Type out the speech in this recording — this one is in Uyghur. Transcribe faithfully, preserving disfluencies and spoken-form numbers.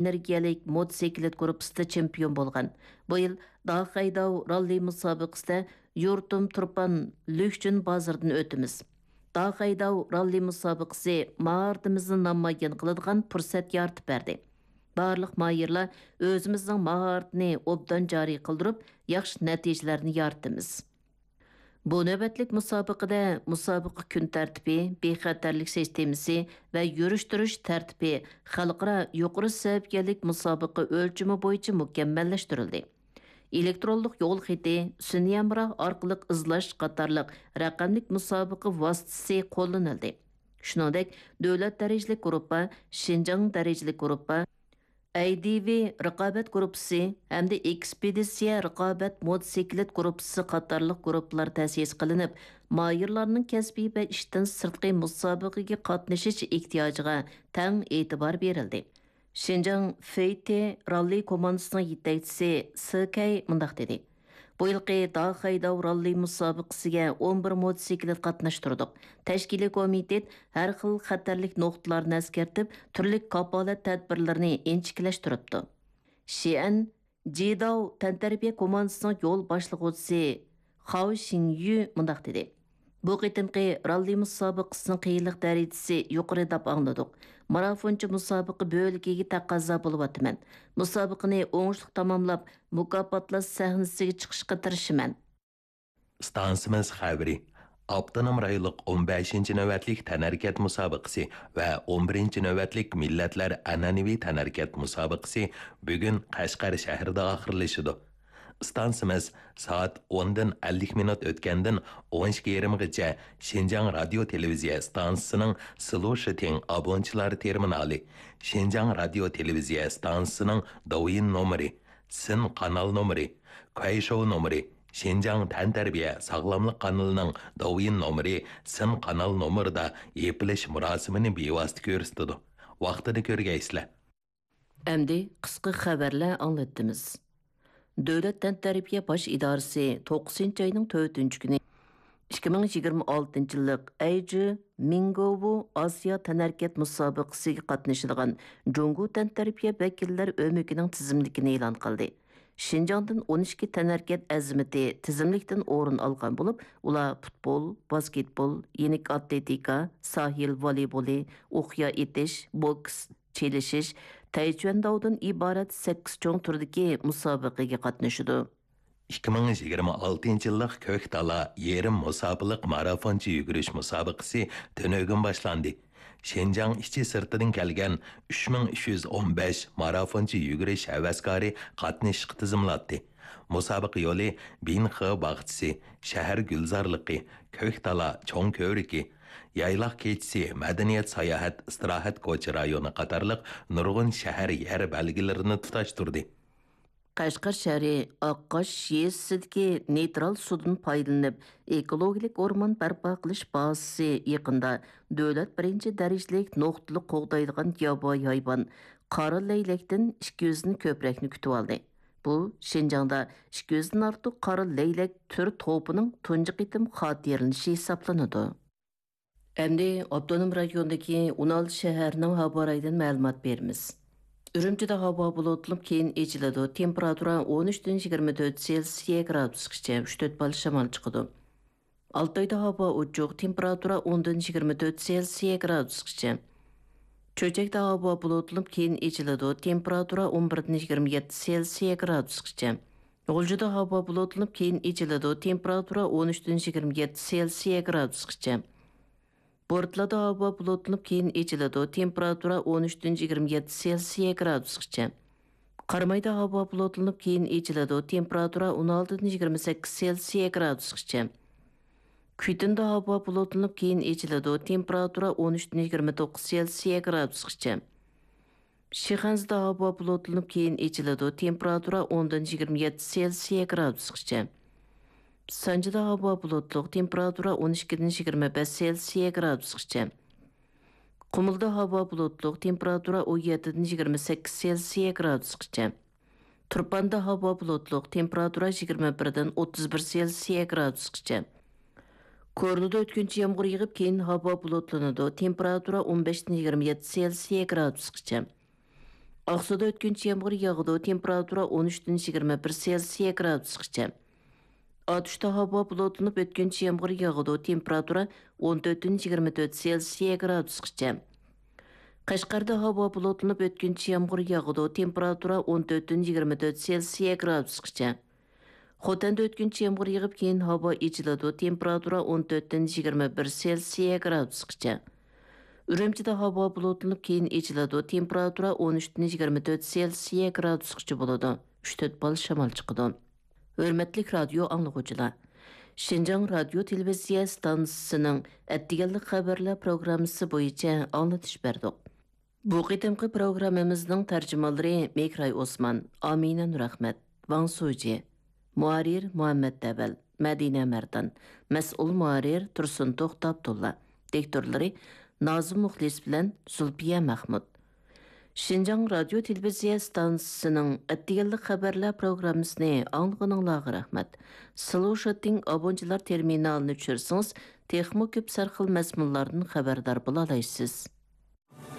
ئېنېرگىيەلىك موتوسىكلىت گۇرۇپپىسىدا چېمپىيون بولغان. بۇ يىل داخەيداۋ راللى مۇسابىقىسىدە يۇرتۇم تۇرپان لۈكچۈن بازىرىدىن ئۆتىمىز. داخەيداۋ راللى مۇسابىقىسى ماھارىتىمىزنى نامايان قىلىدىغان پۇرسەت يارىتىپ بەردى. بارلىق ماھىرلار ئۆزىمىزنىڭ ماھارىتىنى ئوبدان جارى قىلدۇرۇپ، ياخشى نەتىجىلەرنى يارىتىمىز. بۇ نۆۋەتلىك مۇسابىقىدە مۇسابىقە كۈن تەرتىپى، بىخەتەرلىك سىستېمىسى ۋە يۈرۈش-تۇرۇش تەرتىپى خەلقئارا يۇقىرى سەۋىيەلىك مۇسابىقە ئۆلچىمى بويىچە مۇكەممەللەشتۈرۈلدى. ئېلېكترونلۇق يول خېتى، سۈنئىي ھەمراھ ئارقىلىق ئىزدەش قاتارلىق رەقەملىك مۇسابىقە ۋاسىتىسى قوللىنىلدى. شۇنىڭدەك، دۆلەت دەرىجىلىك گۇرۇپپا، شىنجاڭ دەرىجىلىك گۇرۇپپا، ئەي دى ۋى رىقابەت گۇرۇپپىسى ھەمدە ئېكسپېدىتسىيە رىقابەت موتوسىكلىت گۇرۇپپىسى قاتارلىق گۇرۇپپىلار تەسىس قىلىنىپ، ماھىرلارنىڭ كەسپىي ۋە ئىشتىن سىرتقى مۇسابىقىگە قاتنىشىش ئېھتىياجىغا تەڭ ئېتىبار بېرىلدى. شىنجاڭ فېيتې راللى كوماندىسىنىڭ يېتەكچىسى سې كەي مۇنداق دېدى: بۇ يىلقى داخەيداۋ راللى مۇسابىقىسىگە ئون بىر موتوسىكلىت قاتناشتۇردۇق. تەشكىلىي كومىتېت ھەر خىل خەتەرلىك نۇقتىلارنى ئەسكەرتىپ، تۈرلۈك كاپالەت تەدبىرلىرىنى ئىنچىكىلەشتۈرۈپتۇ. شىئەن جىداۋ تەنتەربىيە كوماندىسىنىڭ يول باشلىغۇچىسى خاۋ شىڭيۈ مۇنداق دېدى: بۇ قېتىمقى راللى مۇسابىقىسىنىڭ قىيىنلىق دەرىجىسى يۇقىرى دەپ ئاڭلىدۇق. مارافونچى مۇسابىقە بۆلىكىگە تەقەززا بولۇۋاتىمەن. مۇسابىقىنى ئوڭۇشلۇق تاماملاپ، مۇكاپاتلاش سەھنىسىگە چىقىشقا تىرىشىمەن. ئىستانسىمىز خەۋىرى. ئاپتونوم رايونلۇق ئون بەشىنچى نۆۋەتلىك تەنھەرىكەت مۇسابىقىسى ۋە ئون بىرىنچى نۆۋەتلىك مىللەتلەر ئەنئەنىۋى تەنھەرىكەت مۇسابىقىسى بۈگۈن قەشقەر شەھىرىدە ئاخىرلىشىدۇ. ئىستانسىمىز سائەت ئوندىن ئەللىك مىنۇت ئۆتكەندىن ئون ئىككى يېرىمغىچە شىنجاڭ رادىيو تېلېۋىزىيە ئىستانسىسىنىڭ سلۇشىتىڭ ئابونچىلار تېرمىنالى، شىنجاڭ رادىيو تېلېۋىزىيە ئىستانسىسىنىڭ دوۋيىن نومۇرى، سىن قانال نومۇرى، كۇەيشوۋ نومۇرى، شىنجاڭ تەنتەربىيە ساغلاملىق قانىلىنىڭ دوۋيىن نومۇرى، سىن قانال نومۇرىدا يېپىلىش مۇراسىمىنى بىۋاسىتە كۆرسىتىدۇ. ۋاقتىدا كۆرگەيسىلەر. ئەمدى قىسقا خەۋەرلەر ئاڭلىتىمىز. دۆلەت تەنتەربىيە باش ئىدارىسى توققۇزىنچى ئاينىڭ تۆتىنچى كۈنى ئىككى مىڭ يىگىرمە ئالتىنچى يىللىق ئەيجى مىڭگوۋۇ ئاسىيا تەنھەرىكەت مۇسابىقىسىگە قاتنىشىدىغان جۇڭگو تەنتەربىيە ۋەكىللەر ئۆمىكىنىڭ تىزىملىكىنى ئېلان قىلدى. شىنجاڭدىن ئون ئىككى تەنھەرىكەت ئەزىمىتى تىزىملىكتىن ئورۇن ئالغان بولۇپ، ئۇلار پۇتبول، باسكېتبول، يېنىك ئاتلېتىكا، ساھىل ۋولېيبولى، ئوقيا ئېتىش، بوكس، چېلىشىش، تەيچۈەنداۋدىن ئىبارەت سەككىز چوڭ تۈردىكى مۇسابىقىگە قاتنىشىدۇ. ئىككى مىڭ يىگىرمە ئالتىنچى يىللىق كۆكتالا يېرىم مۇساپىلىق مارافونچە يۈگۈرۈش مۇسابىقىسى تۈنۈگۈن باشلاندى. شىنجاڭ ئىچى سىرتىدىن كەلگەن ئۈچ مىڭ ئۈچ يۈز ئون بەش مارافونچە يۈگۈرۈش ھەۋەسكارى قاتنىشىشقا تىزىملاتتى. مۇسابىقە يولى بىنخې باغچىسى، شەھەر گۈلزارلىقى، كۆكتالا چوڭ كۆۋرۈكى، يايلاق كېچىسى، مەدەنىيەت ساياھەت ئىستىراھەت كوچا رايونى قاتارلىق نۇرغۇن شەھەر يەر بەلگىلىرىنى تۇتاشتۇردى. قەشقەر شەھىرى ئاققاش يېزىسىدىكى نېيترال سۇدىن پايدىلىنىپ، ئېكولوگىيەلىك ئورمان بەرپا قىلىش بازىسى يېقىندا دۆلەت بىرىنچى دەرىجىلىك نۇقتىلىق قوغدايدىغان ياۋايى ھايۋان قارا لەيلەكتىن ئىككى يۈزدىن كۆپرەكنى كۈتۈۋالدى. بۇ شىنجاڭدا ئىككى يۈزدىن ئارتۇق قارا لەيلەك تۈر توپىنىڭ تۇنجى قېتىم خاتىرىلىنىشى ھېسابلىنىدۇ. ئەمدى ئاپتونوم رايوندىكى ئون ئالتە شەھەرنىڭ ھاۋا رايىدىن مەلۇمات بېرىمىز. ئۈرۈمچىدە ھاۋا بۇلۇتلىنىپ، كېيىن ئېچىلىدۇ. تېمپېراتۇرا ئون ئۈچتىن يىگىرمە تۆت سېلسىيە گرادۇسقىچە، ئۈچ تۆت بال شامال چىقىدۇ. ئالتايدا ھاۋا ئوچۇق، تېمپېراتۇرا ئوندىن يىگىرمە تۆت سېلسىيە گرادۇسقىچە. چۆچەكتە ھاۋا بۇلۇتلىنىپ، كېيىن ئېچىلىدۇ. تېمپېراتۇرا ئون بىردىن يىگىرمە يەتتە سېلسىيە گرادۇسقىچە. غۇلجىدا ھاۋا بۇلۇتلىنىپ، كېيىن ئېچىلىدۇ. تېمپېراتۇرا ئون ئۈچتىن يىگىرمە يەتتە سېلسىيە گرادۇسقىچە. بورتالادا ھاۋا بۇلۇتلىنىپ، كېيىن ئېچىلىدۇ. تېمپېراتۇرا ئون ئۈچتىن يىگىرمە يەتتە سېلسىيە گرادۇسقىچە. قارامايدا ھاۋا بۇلۇتلىنىپ، كېيىن ئېچىلىدۇ. تېمپېراتۇرا ئون ئالتىدىن يىگىرمە سەككىز سېلسىيە گرادۇسقىچە. كۈيتۇندا ھاۋا بۇلۇتلىنىپ، كېيىن ئېچىلىدۇ. تېمپېراتۇرا ئون ئۈچتىن يىگىرمە توققۇز سېلسىيە گرادۇسقىچە. شىخەنزىدە ھاۋا بۇلۇتلىنىپ، كېيىن ئېچىلىدۇ. تېمپېراتۇرا ئوندىن يىگىرمە يەتتە سېلسىيە گرادۇسقىچە. سانجىدا ھاۋا بۇلۇتلۇق، تېمپېراتۇرا ئون ئىككىدىن يىگىرمە بەش سېلسىيە گرادۇسقىچە. قۇمۇلدا ھاۋا بۇلۇتلۇق، تېمپېراتۇرا ئون يەتتىدىن يىگىرمە سەككىز سېلسىيە گرادۇسقىچە. تۇرپاندا ھاۋا بۇلۇتلۇق، تېمپېراتۇرا يىگىرمە بىردىن ئوتتۇز بىر سېلسىيە گرادۇسقىچە. كورلىدا ئۆتكۈنچى يامغۇر يېغىپ، كېيىن ھاۋا بۇلۇتلىنىدۇ، تېمپېراتۇرا ئون بەشتىن يىگىرمە يەتتە سېلسىيە گرادۇسقىچە. ئاقسۇدا ئۆتكۈنچى يامغۇر ياغىدۇ، تېمپېراتۇرا ئون ئۈچتىن يىگىرمە بىر سېلسىيە گرادۇسقىچە. ئاتۇشتا ھاۋا بۇلۇتلىنىپ ئۆتكۈنچى يامغۇر ياغىدۇ، تېمپېراتۇرا ئون تۆتتىن يىگىرمە تۆت سېلسىيە گرادۇسقىچە. قەشقەردە ھاۋا بۇلۇتلىنىپ ئۆتكۈنچى يامغۇر ياغىدۇ، تېمپېراتۇرا ئون تۆتتىن يىگىرمە تۆت سېلسىيە گرادۇسقىچە. خوتەندە ئۆتكۈنچى يامغۇر يېغىپ، كېيىن ھاۋا ئېچىلىدۇ، تېمپېراتۇرا ئون تۆتتىن يىگىرمە بىر سېلسىيە گرادۇسقىچە. ئۈرۈمچىدە ھاۋا بۇلۇتلىنىپ، كېيىن ئېچىلىدۇ، تېمپېراتۇرا ئون ئۈچتىن يىگىرمە تۆت سېلسىيە گرادۇسقىچە بولىدۇ، ئۈچ تۆت بال شامال چىقىدۇ. ھۆرمەتلىك رادىيو ئاڭلىغۇچىلار! شىنجاڭ رادىيو تېلېۋىزىيە ئىستانسىسىنىڭ ئەتىگەنلىك خەۋەرلەر پروگراممىسى بويىچە ئاڭلىتىش بەردۇق. بۇ قېتىمقى پروگراممىمىزنىڭ تەرجىمانلىرى مېھراي ئوسمان، ئامىنە نۇرئەخمەت، ۋاڭ سۇجى، مۇھەررىر مۇھەممەت دەۋەل، مەدىنە مەردان، مەسئۇل مۇھەررىر تۇرسۇن توختى ئابدۇللا، دىكتورلىرى نازىم مۇخلىس بىلەن زۇلپىيە مەخمۇت. شىنجاڭ رادىيو تېلېۋىزىيە ئىستانسىسىنىڭ ئەتىگەنلىك خەۋەرلەر پروگراممىسىنى ئاڭلىغىنىڭلارغا رەھمەت. سلۇشىتىڭ ئابونچىلار تېرمىنالىنى چۈشۈرسىڭىز، تېخىمۇ كۆپ سەرخىل مەزمۇنلاردىن خەۋەردار بولالايسىز.